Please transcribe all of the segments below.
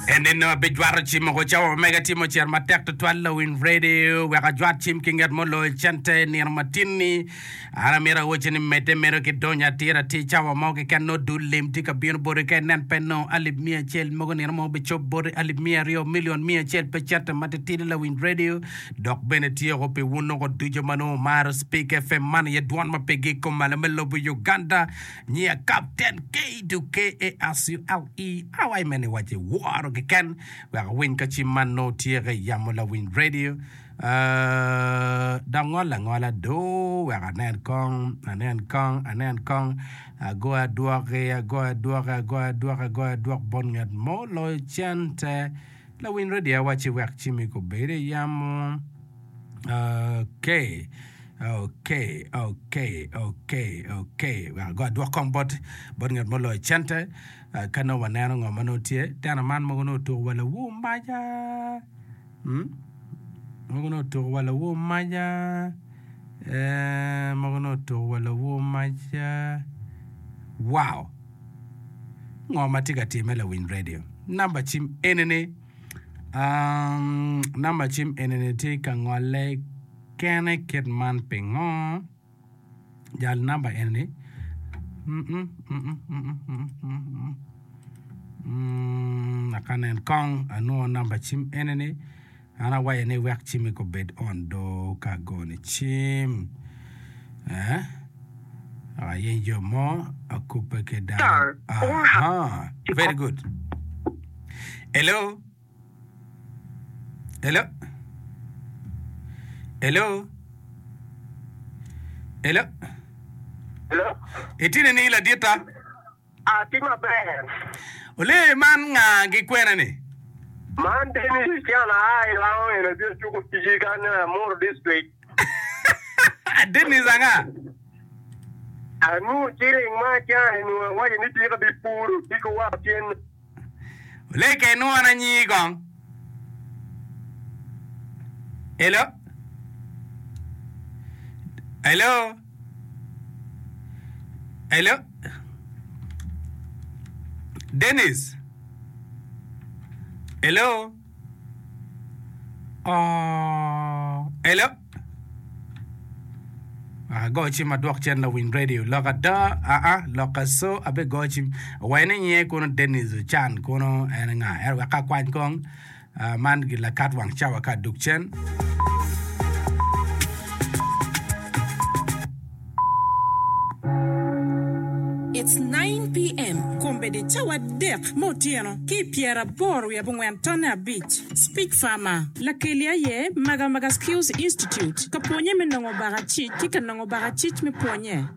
En nino abijwato cim woko cawa ma mega tye mucito matek tutwal lawiny radio wek ajwat cim ki nget ma oloyo cente nino matin-ni. An amito awocci ni medde medo ki donyo atir atir cawa mo keken nongo dul lim tye ka bino boti ka inen pe nongo alip miya acel mogo nino mo bicob boti alip miya aryo milion miya acel pe cente matitidi lawiny radio dok bene tye woko pi wun woko ducu ma nongo wumaro Speak FM man aye dwon ma pe gik kom malo me lobo Uganda. Nyiya Kapten K-U-K-A-S-U-L-E awaci me ni waci woro keken wek awiny ka cim man nongo tyeke i yamo lawiny radio. Uh, dok ngol angola do wek anen kong, anen kong, anen kong. Agoyo adwoki, agoyo adwoki, agoyo adwoki, agoyo adwok bot nget mo loyo cente. Lawiny radio awaci wek cimi kobed i yamo. Okay. Ok, ok, ok, ok. Wek ago adwok kong bot, bot ngat ma oloyo cente. Uh, ka nongo waneno ngo ma nongo tye. Tena man mogo nongo otuko wa lawur maca. Hmm? Mogo nongo otuko wa lawur maca. Eh, mogo nongo otuko wa lawur maca. Wow! Ngo ma tye ka timme lawiny radio? Namba cim enini. Um, namba cim enini tye ka ngolle Kene kit man pingo? Jal namba eni aka nen kong anwongo namba cim eni ni an awaco ni wek cimmi kobed on do ka agoni cim eh ayeny jo mo akubbe ki dano aha very good hello. Hello? Hello? Hello? Hello? Itye nining laditta? Atye maber. Ole man nga gi kwene ni? Man Dennis Chan aa i Lango eno tye cuko ticci kanyo i Amuru district. Dennis anga? Anongo ciling ma acan inongo awaco ni tika bipuro odiko wa otyeno. Leke inwona nyingi kong. Hello? Hello? Hello? Dennis? Hello? Oh, hello? Ago cim adwok cen lawiny radio lok ada aa lok aso abe go cim owaco ni nyinge kono Dennis Ocan kono en nga ento wek akwany kong man lakat wang cawa ka adug cen. It's 9 PM, Kombeddi cawa adek me otyeno ki i pyeraboro wiye abongwen tonne abic. Speech Farmer, Lakeli aye Magamaga Skills Institute ka pwonye me nongo bakacic ki ka nongo bakacic me pwonye.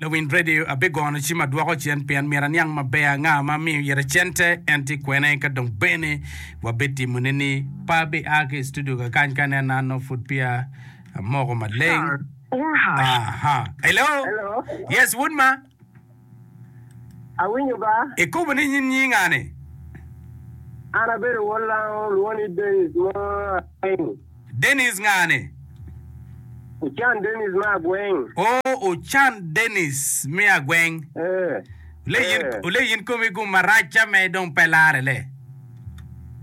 Lawiny radio abigono cim adwoko cen pien myero aniang maber anga ma amiyo ite cente en tye kwene ka dong bene wabitimo ne ni pe abi a ki i studio kakany ka aneno an nongo pud peya amoko maleng. Aha. Hello. Hello. Yes, wod ma. Awinyo ba. Ikubo ni nyin nyinga ni? An abedo wod lango lwongo ni Dennis mo Agweng. Dennis nga ni? Ocan Dennis me Agweng. Oh, Ocan Dennis me Agweng. Eh. Ole yin, Eh. ole yin komi gum marac ca me dong pe lare le.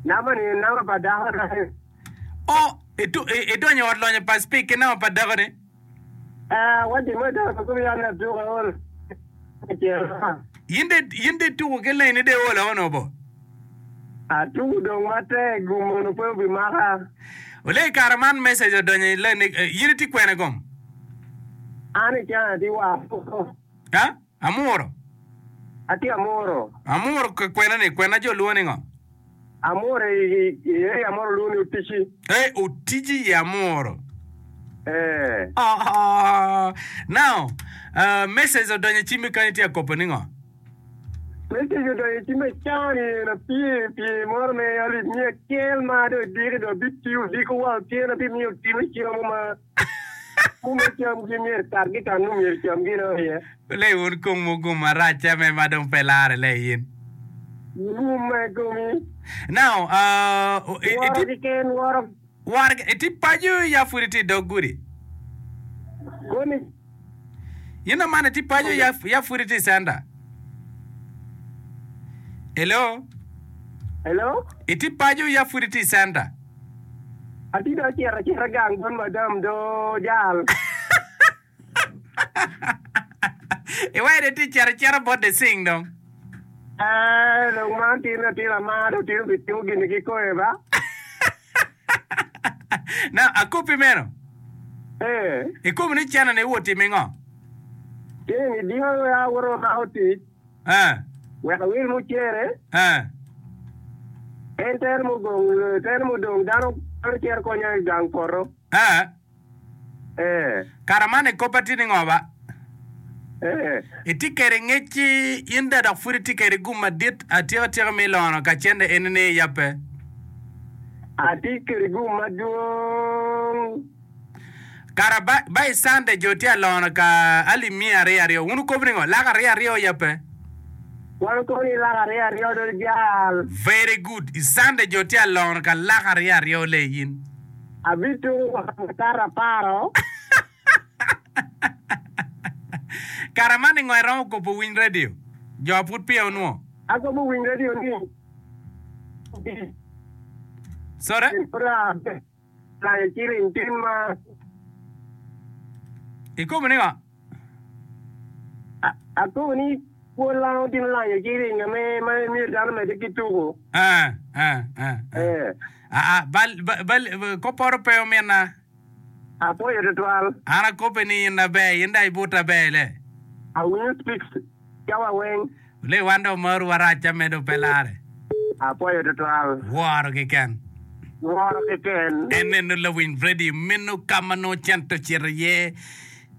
Namba ni namba pa dako na. Oh, itu, i, idonyo i ot lonyo pa Speke ki namba pa dako ni? In de in de ituko ki leni de olo ono bo? Atuko dong matek gum ono pe obimaka. Ole i kare man message odonyo i leni in itye kwene gum? An i cana atye wa amuro. Ha? Amuro? Atye amuro. Amuro kwene ni kwena jo lwongo ni ngo? Amuro i area moro lwongo ni Otici. Eh, Otici i Amuro. Eh. Oh, now, uh, message odonyo i cimmi kany itye ka kopo ni ngo? Message odonyo i cimma i cawa-ni en apye pye moro me alip miya acel ma dong idiki dong abitiyo odiko wa otyeno abimiyo timo cam mo ma Mume camgi myero katgi ka nongo myero camgi dong iye. Le wun kong mugum marac ca me ma dong pe lare le in. Gum ma i komi. Now, uh, Woro keken, woro. Woro itye paco ya pud itye i dog gudi? Koni. In amana itye paco ya, ya pud itye i center? Hello? Hello? Itye paco ya pud itye i centa? Atye dong acito acita gang bot madam do jal. Iwaco ni itye cito acita bot the sing dong. Ee, dong man tin latin amar dong tin obitimo gini kikome ba? Now, akoppi meno. Ee. Ikobo ni cene ni iwot timo ingo? Cene ni dingo awoto amako tic. Ee. Wek awil mucere. Ee. En tere mugong, tere mudong dano dano cito konya i gang poto. Ee. Ee. Kara man i koppa tye ni ngo ba? Ee. Itye kede ngec-ci in da dok pud itye kede gum madit atika tika me ilono ka cente eni ni iyabbe? Atye kede gum madwong. Kara ba, ba i Sunday jo tye alono ka alip miya aryo aryo. Wun wukobo ni ngo? Lak aryo aryo yabbe? Wan wukobo ni lak aryo aryo do jal. Very good. I Sunday jo tye alono ka lak aryo aryo le in. Abituko wa makato aparo. Kara man ni ngo iromo kobo winy radio? Jo pud peya onwo. Akobo winy radio ni. Sorry? Lanyo ciling tin ma. Ikobo ni ngo? Akobo ni pwod lango tin lanyo ciling ame ma myero dano omedde ki tuko. Eh, eh, eh, eh. Eh. Aa, bal, bal, bal, koporo pe ominna. Apwoyo tutwal. An akope ni in aber, in dong ibuta aber le. Awinyo speaks cawa weng. Lee wan dong maru warac ca medo pe lare. Apwoyo tutwal. Woro keken. Woro keken. En neno lawiny radio meno ka ma nongo cente ocito iye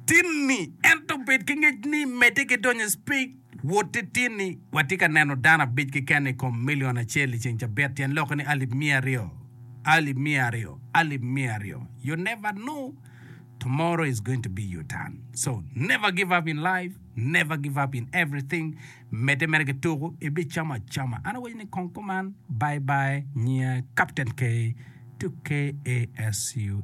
tinni ento bed ki ngec ni medde ki donyo i speak wotti tinni. Watye ka neno dano abic keken i kom million acel i ceng cabit tyen lokke ni alip miya aryo, alip miya aryo, alip miya aryo. You never know tomorrow is going to be your turn so never give up in life. Never give up in everything medde mere ki tuku ibicamo acama an awaco ni kong kuman bye bye nyinga Captain K to KASUL.